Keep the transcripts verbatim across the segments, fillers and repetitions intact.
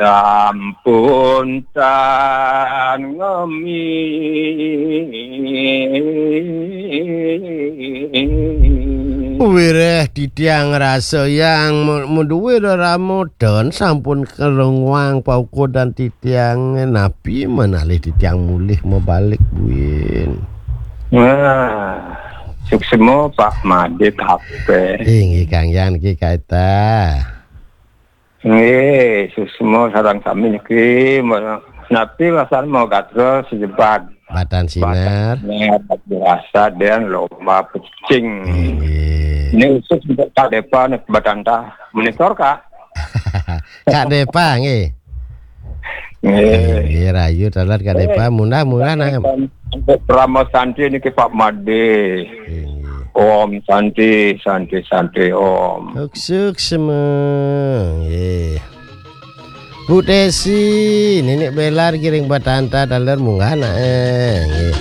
sampun tan ngemi. Wireh titiang rasa yang mu-, muduwe rerama dan sampun kerengwang paukudan titiang napi menalih titiang mulih mebalik buin. Wah, suksma Pak Madit hape. Inggih Kang Yan ki kaita. Nggih, suksma sareng sami niki, napi wasan mau gatra sejebat. Batan sinar. Batan sinar, biasa dan lomba pecing. Nggih. Ini khusus untuk Kak Depa nih, Batanta. Monitor, Kak. Kak Depa, nggih. Nggih. Nggih, rayu taler Kak Depa, munah-munah nah. Untuk Parama Santi niki Pak Made. Nggih. Om Santi, Santi, Santi, Om. Suk, suk, semeng. Nggih. Bu Tesi, Ninik Bela niki ring Batanta taler munggah nah, eh, nggih.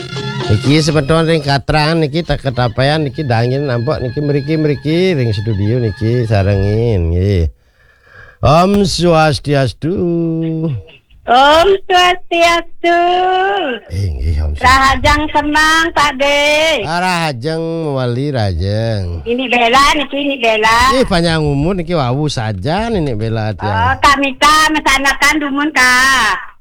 Niki semeton ring Katran niki tak ketapean niki dangin nampek niki mriki-mriki ring studio niki sarengin nggih. Om Swastiastu. Om Swastiastu. Eh, nggih, Om Swastiastu. Rahajeng semeng, Pak De. Ah, rahajeng mewali rahajeng. Ninik Bela niki, Ninik Bela. Eh, panjang umur niki wau saja Ninik Bela tiang. Oh, Kak Mita mesanakan dumun, Kak.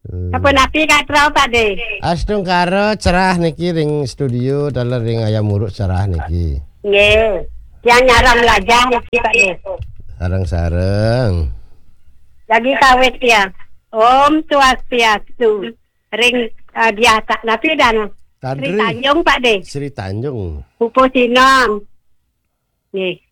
Hmm. Sapunapi, Kak Trau, Pak De? Astungkara cerah niki ring studio, taler ring Ayam Uruk cerah niki. Nggih. Yang nyaram lajah niki, Pak De. Sareng-sareng. Lagi kawit ya. Om Swastiastu. Ring, eh, biasa napi dan Sri Tanjung, Pak De. Sri Tanjung. Pupu Sinom. Nggih.